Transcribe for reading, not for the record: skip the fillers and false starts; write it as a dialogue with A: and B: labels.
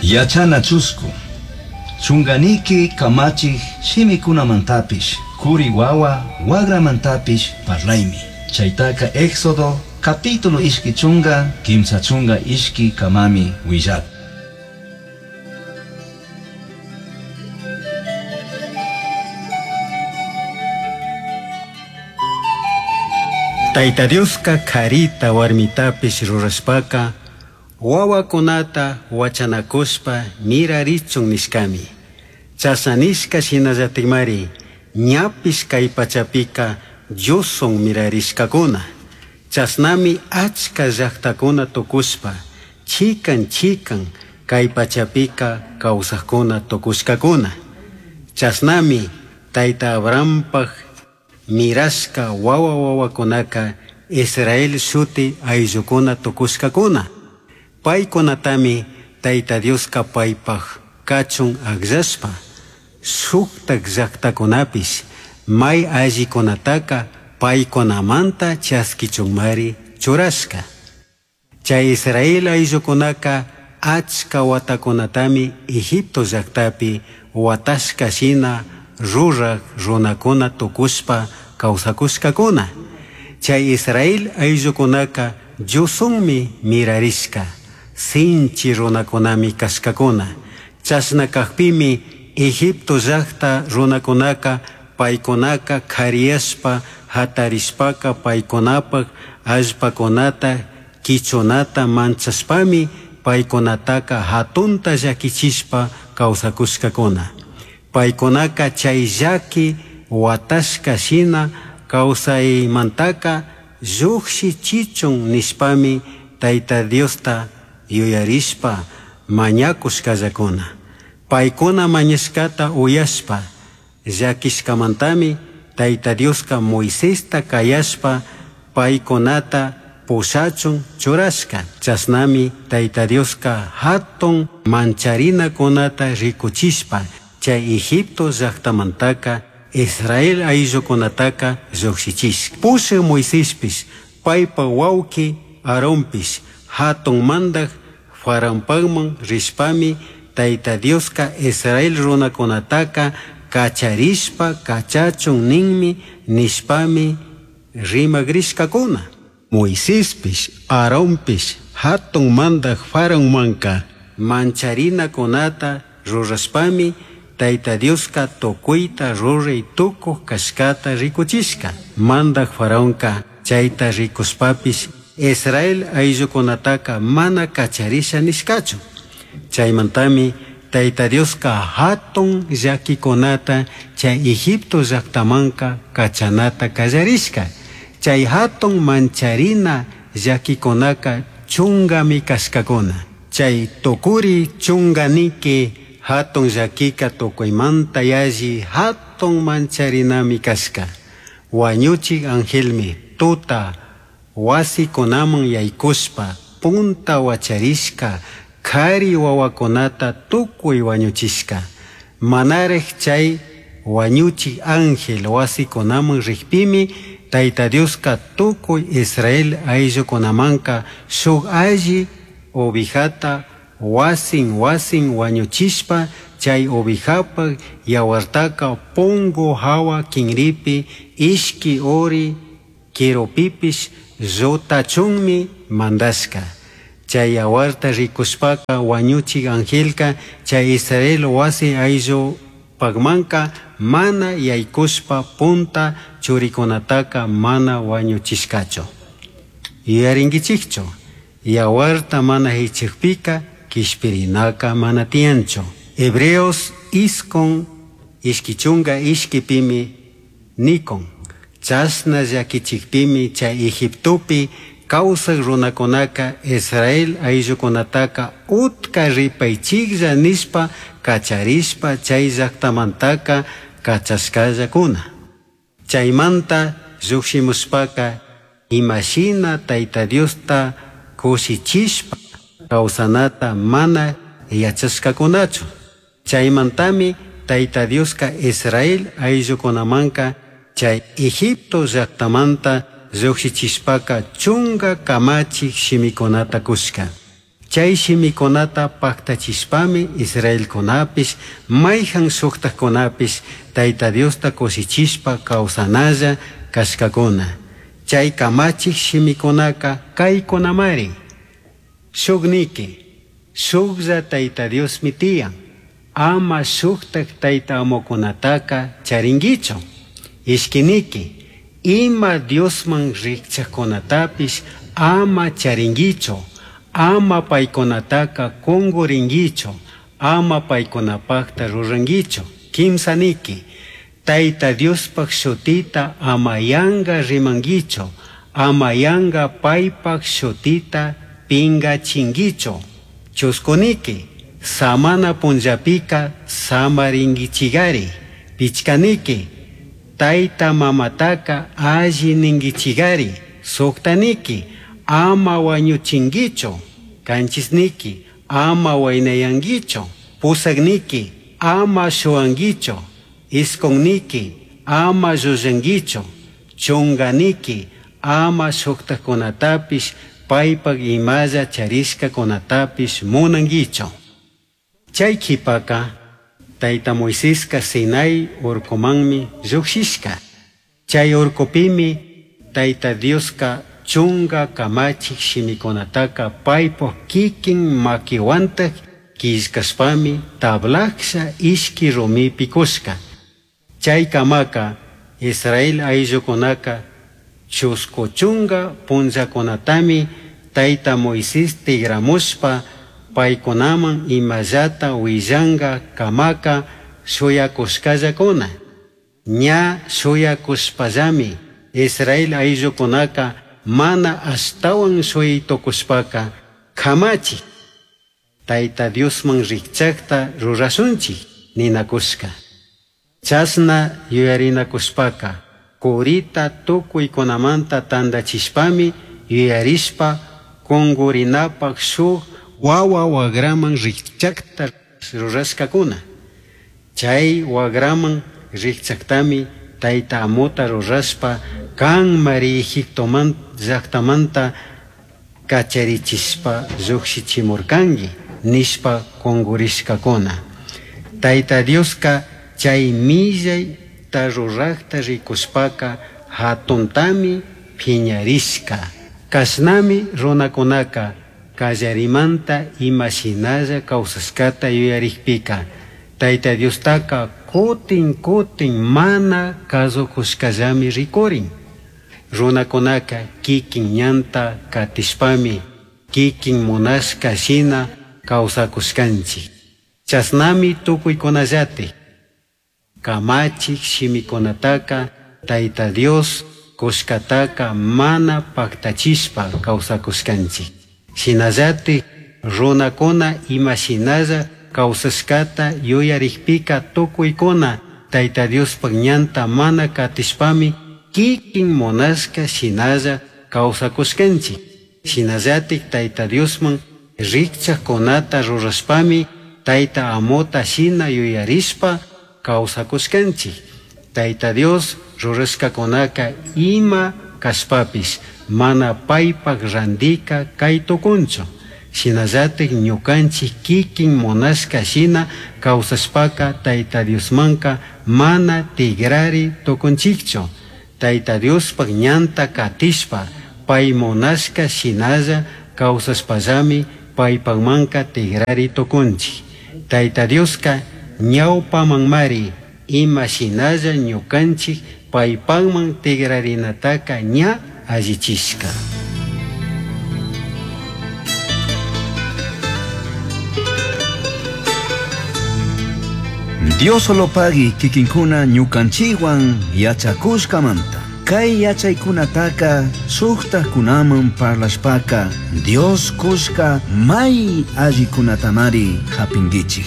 A: Yachana chusku. Chunganiki kamachik shimikunamantapish, kuri wawa wagramantapish parlaymi. Chaytaka Éxodo capítulo ishki chunga, kimsa chunga ishki kamami willak.
B: Tayta Dioska karita warmitapish rurashpaka wawakunata wachanakushpa mirarichun nishkami. Chashna nishka shinallatikmari ñapish kay pachapika Diosun mirarishkakuna. Chashnami achka llaktakuna tukushpa chikan chikan kay pachapika kawsakuna tukushkakuna. Chashnami Tayta Abrahampaj mirashka wawa wawakunaka Israel shuti ayllukuna tukushkakuna. Paykunatami Tayta Dioska paypaj kachun akllashpa shuktak llaktakunapish may allikunataka paykunamanta chaskichunmari churashka. Chay Israel ayllukunaka achka watakunatami Egipto llaktapi watashka shina ruraj runakuna tukushpa kawsakushkakuna. Chay Israel ayllukunaka Diosunmi mirarishka, sinchi runakunami kashkakuna. Chashna kakpimi Egipto llakta runakunaka paykunaka kariyashpa hatarishpaka paykunapak allpakunata kichunata manchashpami paykunataka hatunta llakichishpa kawsakushkakuna. Paykunaka chay llaki watashka shina kawsaymantaka llukshichichun nishpami Tayta Diosta yuyarishpa mañakushkallakuna. Paykuna mañashkata uyashpa llakishkamantami Tayta Dioska Moisesta kayashpa paykunata pushachun churashka. Chashnami Tayta Dioska hatun mancharinakunata rikuchishpa chay Egipto llaktamantaka Israel ayllukunataka llukshichishka. Pushak Moisespish paypa wawki Aaronpish hatun mandak Faraonpakman rishpami Tayta Dioska Israel runakunataka kacharishpa kachachun ninmi nishpami rimagrishkakuna. Moisespish Aaronpish hatun mandak Faraonmanka mancharinakunata rurashpami Tayta Dioska tukuyta ruray tukuq kashkata rikuchishka. Mandak Faraonka chayta rikushpapish Israel ayllukunataka mana kacharisha nishkachu. Chaymantami Tayta Dioska hatun llakikunata chay Egipto llaktamanka kachanata kallarishka. Chay hatun mancharina llakikunaka chungami kashkakuna. Chay tukuri chunganiki hatun llakika tukuymanta yalli hatun mancharinami kashka. Wañuchik angelmi tuta wasikunaman yaykushpa punta wacharishka kari wawakunata tukuy wañuchishka. Manaraj chay wañuchik ángel wasikunaman rikpimi Tayta Dioska tukuy Israel ayllukunamanka shuk alli ovejata wasin wasin wañuchishpa chay ovejapak yawartaka pungu hawa kinripi ishki uri quirupipish llutachunmi mandashka. Chay yawarta rikushpaka wañuchik angelka chay Israel wasi ayllupakmanka mana yaykushpa punta churikunataka mana wañuchishkachu. Yuyarinkichikchu, yawarta mana hichikpika kishpirinaka mana tiyanchu. Hebreos iskun ishkichunga ishkipimi nikun. Chashna llakichikpimi chay Egiptopi kawsak runakunaka Israel ayllukunataka utka ripaychiklla nishpa kacharishpa chay llaktamantaka kachashkallakuna. Chaymanta llukshimushpaka imashina Tayta Diosta kushichishpa kawsanata mana yachashkakunachu. Chaymantami Tayta Dioska Israel ayllukunamanka chay Egipto llaktamanta llukshichishpaka chunga kamachik shimikunata kushka. Chay shimikunata paktachishpami israelkunapish mayhan shuktakkunapish Tayta Diosta kushichishpa kawsanalla kashkakuna. Chay kamachik shimikunaka kaykunamari. Shukniki, shuklla Tayta Diosmi tiyan. Ama shuktak tayta amukunataka charinkichu. Ishkiniki, ima Diosman rikchakkunatapish ama charinkichu. Ama paykunataka kunkurinkichu. Ama paykunapakta rurankichu. Kimsaniki, Tayta Diospaj shutita ama yanka rimankichu. Ama yanka paypaj shutita pinkachinkichu. Chuskuniki, samana punllapika samarinkichigari. Pichkaniki, tayta mamataka alli ninkichigari. Suktaniki, ama wañuchinkichu. Kanchisniki, ama waynayankichu. Pusakniki, ama shuwankichu. Iskunniki, ama llullankichu. Chunkaniki, ama shuktakkunatapish paypak imalla charishkakunatapish munankichu. Chay kipaka tayta Moiseska Sinai urkumanmi llukshishka. Chay urkupimi Tayta Dioska chunka kamachik shimikunataka paypak kikin makiwantak killkashpami tablaksha ishki rumipi kushka. Chay kamaka Israel ayllukunaka chusku chunka punllakunatami tayta Moisés tigramushpa paykunaman imallata willanka kamaka shuyakushkallakuna. Ña shuyakushpallami Israel ayllukunaka mana ashtawan shuyaytukushpaka kamachik Tayta Diosman rikchakta rurashunchik ninakushka. Chashna yuyarinakushpaka kurita tukuykunamanta tantachishpami yuyarishpa kunkurinapak shuk wawa wagraman rikchakta rurashkakuna. Chay wagraman rikchaktami tayta amuta rurashpa kanmari Egiptoman llaktamanta kacharichishpa llukshichimurkanki nishpa kunkurishkakuna. Tayta Dioska chay millayta rurakta rikushpaka hatuntami piñarishka. Kashnami runakunaka kallarimanta imashinalla kawsashkata yuyarikpika Tayta Diostaka kutin kutin mana kasukushkallami rikurin. Runakunaka kikin ñanta katishpami kikin munashka shina kawsakushkanchik. Chashnami tukuykunallatik kamachik shimikunataka Tayta Dios kushkataka mana paktachishpa kawsakushkanchik. Shinallatik runakuna imashinalla kawsashkata yuyarikpika tukuykuna Tayta Diospak ñanta mana katishpami kikin munashka shinalla kawsakushkanchik. Shinallatik Tayta Diosman rikchakkunata rurashpami Tayta amuta shina yuyarishpa kawsakushkanchik. Tayta Dios rurashkakunaka ima kashpapish mana paypak randika kay tukunchu. Shinallatik ñukanchik kikin munashka shina kawsashpaka Tayta Diosmanka mana tigrari tukunchikchu. Tayta Diospak ñanta katishpa pay munashka shinalla kawsashpallami paypakmanka tigrari tukunchik. Tayta Dioska ñawpamanmari ima shinalla ñukanchik paypakman tigrarinataka ña allichishka.
A: Dios solo pagui kikinkuna ñukanchikwan yachakushkamanta. Kay yachaykunataka shuktakunaman parlashpaka Dios kushka may allikunatamari hapinkichik.